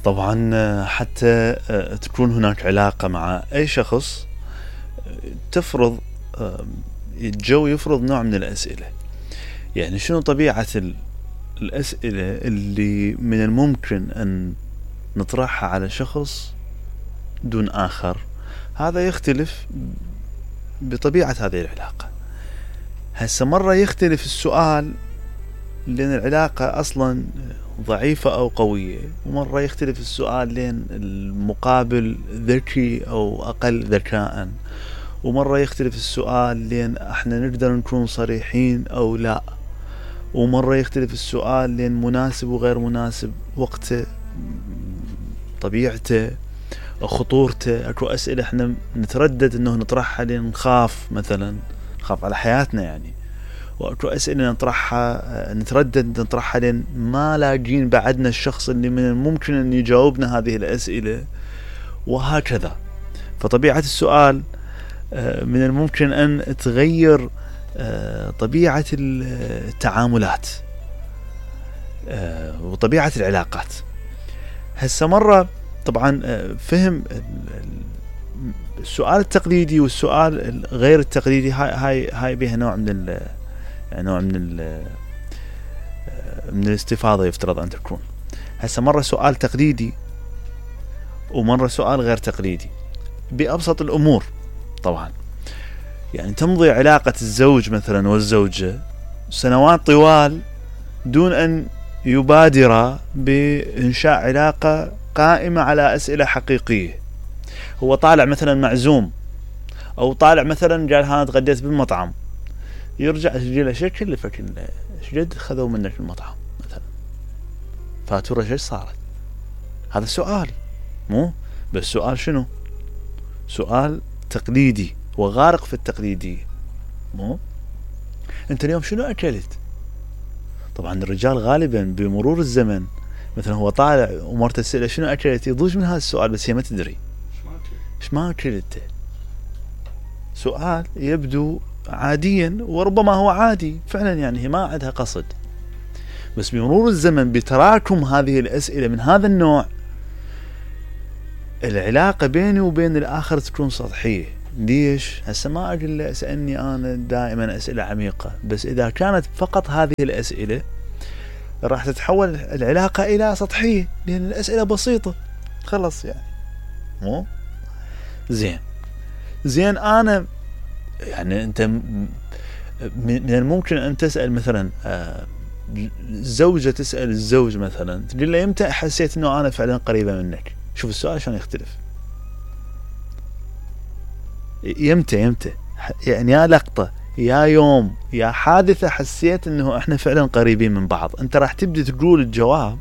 طبعا حتى تكون هناك علاقة مع أي شخص تفرض الجو يفرض نوع من الأسئلة. يعني شنو طبيعة الأسئلة اللي من الممكن أن نطرحها على شخص دون آخر؟ هذا يختلف بطبيعة هذه العلاقة. هسه مرة يختلف السؤال لأن العلاقة أصلا ضعيفة أو قوية، ومرة يختلف السؤال لأن المقابل ذكي أو أقل ذكاء، ومرة يختلف السؤال لأن احنا نقدر نكون صريحين أو لا، ومرة يختلف السؤال لأن مناسب وغير مناسب، وقته، طبيعته، خطورته. اكو أسئلة احنا نتردد انه نطرحها لأن نخاف، مثلا نخاف على حياتنا يعني، واكو أسئلة نتردد نطرحها لأن ما لاقين بعدنا الشخص اللي من الممكن ان يجاوبنا هذه الأسئلة، وهكذا. فطبيعة السؤال من الممكن ان تغير طبيعة التعاملات وطبيعة العلاقات. هسه مرة طبعا فهم السؤال التقليدي والسؤال غير التقليدي، هاي بها نوع من من الاستفاضة يفترض أن تكون. هسه مرة سؤال تقليدي ومرة سؤال غير تقليدي بأبسط الأمور. طبعا يعني تمضي علاقة الزوج مثلا والزوجة سنوات طوال دون أن يبادر بإنشاء علاقة قائمة على أسئلة حقيقية. هو طالع مثلا معزوم، أو طالع مثلا قال ها تغديت بالمطعم، يرجع يسجله شو كلفك، ايش قد خذوا منك المطعم مثلا، فاتورة ايش صارت. هذا سؤال، مو بس سؤال شنو، سؤال تقليدي وغارق في التقليدية. مو انت اليوم شنو اكلت؟ طبعا الرجال غالبا بمرور الزمن مثلا هو طالع ومرته تسأله شنو اكلت، يضوج من هذا السؤال بس هي ما تدري ايش ما اكلت. سؤال يبدو عاديا وربما هو عادي فعلا، يعني هي ما عندها قصد، بس بمرور الزمن بتراكم هذه الأسئلة من هذا النوع العلاقة بيني وبين الآخر تكون سطحية. ليش؟ هسه ما أقول له اسألني أنا دائما أسئلة عميقة، بس إذا كانت فقط هذه الأسئلة راح تتحول العلاقة إلى سطحية، لأن الأسئلة بسيطة خلص يعني. مو زين أنا يعني أنت من الممكن أن تسأل مثلا الزوجة تسأل الزوج مثلا، تقول له يمتى حسيت أنه أنا فعلا قريبة منك؟ شوف السؤال شلون يختلف. يمتى يعني يا لقطة يا يوم يا حادثة حسيت أنه إحنا فعلا قريبين من بعض. أنت راح تبدي تقول الجواب،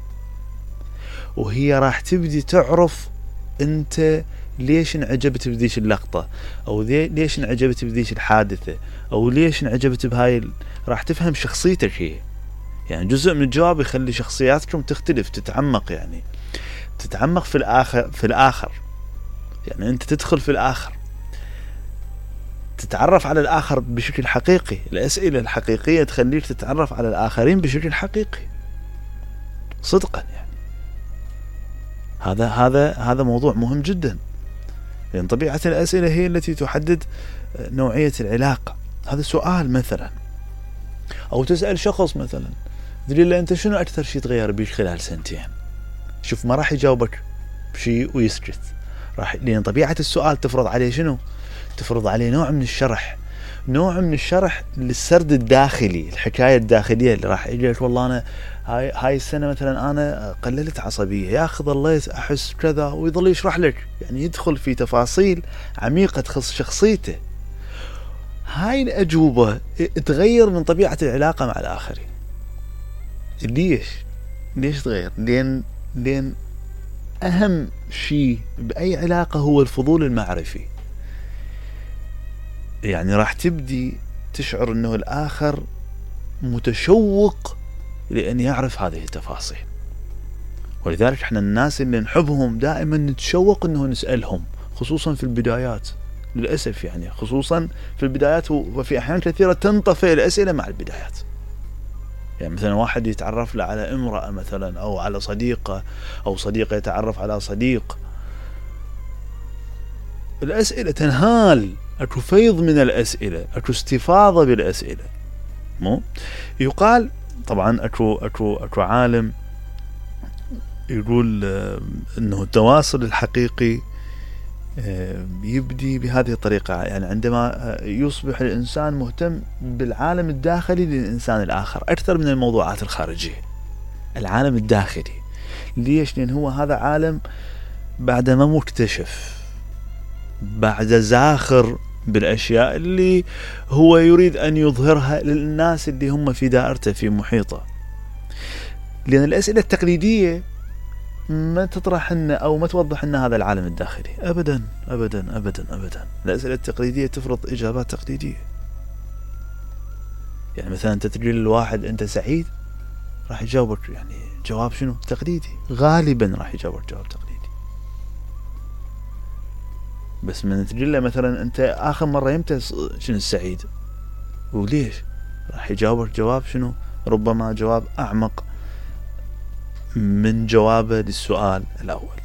وهي راح تبدي تعرف أنت ليش انعجبت بذيش اللقطة، أو ليش انعجبت بذيش الحادثة، أو ليش انعجبت بهاي راح تفهم شخصيتك هي. يعني جزء من الجواب يخلي شخصياتكم تختلف، تتعمق، يعني تتعمق في الآخر. يعني أنت تدخل في الآخر، تتعرف على الآخر بشكل حقيقي. الأسئلة الحقيقية تخليك تتعرف على الآخرين بشكل حقيقي صدقا. يعني هذا موضوع مهم جدا، لأن طبيعة الأسئلة هي التي تحدد نوعية العلاقة. هذا سؤال مثلا. أو تسأل شخص مثلا تقول له أنت شنو أكثر شيء تغير بيك خلال سنتين؟ شوف ما راح يجاوبك بشيء ويسكت، لأن طبيعة السؤال تفرض عليه شنو؟ تفرض عليه نوع من الشرح للسرد الداخلي، الحكاية الداخلية اللي راح يجي لك والله أنا هاي السنة مثلا أنا قللت عصبية، يا أخي ظليت أحس كذا، ويظل يشرح لك، يعني يدخل في تفاصيل عميقة تخص شخصيته. هاي الأجوبة تغير من طبيعة العلاقة مع الآخرين. ليش تغير؟ لأن أهم شيء بأي علاقة هو الفضول المعرفي. يعني راح تبدي تشعر أنه الآخر متشوق لأن يعرف هذه التفاصيل، ولذلك احنا الناس اللي نحبهم دائما نتشوق أنه نسألهم، خصوصا في البدايات للأسف، يعني خصوصا في البدايات، وفي أحيان كثيرة تنطفئ الأسئلة مع البدايات. يعني مثلا واحد يتعرف له على امرأة مثلا، او على صديقة، او صديقة يتعرف على صديق، الاسئلة تنهال، اكو فيض من الاسئلة، اكو استفاضة بالاسئلة. مو يقال طبعا اكو عالم يقول انه التواصل الحقيقي يبدي بهذه الطريقة، يعني عندما يصبح الإنسان مهتم بالعالم الداخلي للإنسان الآخر أكثر من الموضوعات الخارجية. العالم الداخلي ليش؟ لأن هو هذا عالم بعد ما مكتشف، بعد زاخر بالأشياء اللي هو يريد أن يظهرها للناس اللي هم في دائرته في محيطه. لأن الأسئلة التقليدية ما تطرح لنا أو ما توضح لنا هذا العالم الداخلي أبدا أبدا أبدا أبدا. الأسئلة التقليدية تفرض إجابات تقليدية. يعني مثلا أنت تقول للواحد أنت سعيد، راح يجاوبك يعني جواب شنو؟ تقليدي، غالبا راح يجاوبك جواب تقليدي. بس من تقول له مثلا أنت آخر مرة يمتى شنو السعيد وليش، راح يجاوبك جواب شنو؟ ربما جواب أعمق من جوابه للسؤال الأول.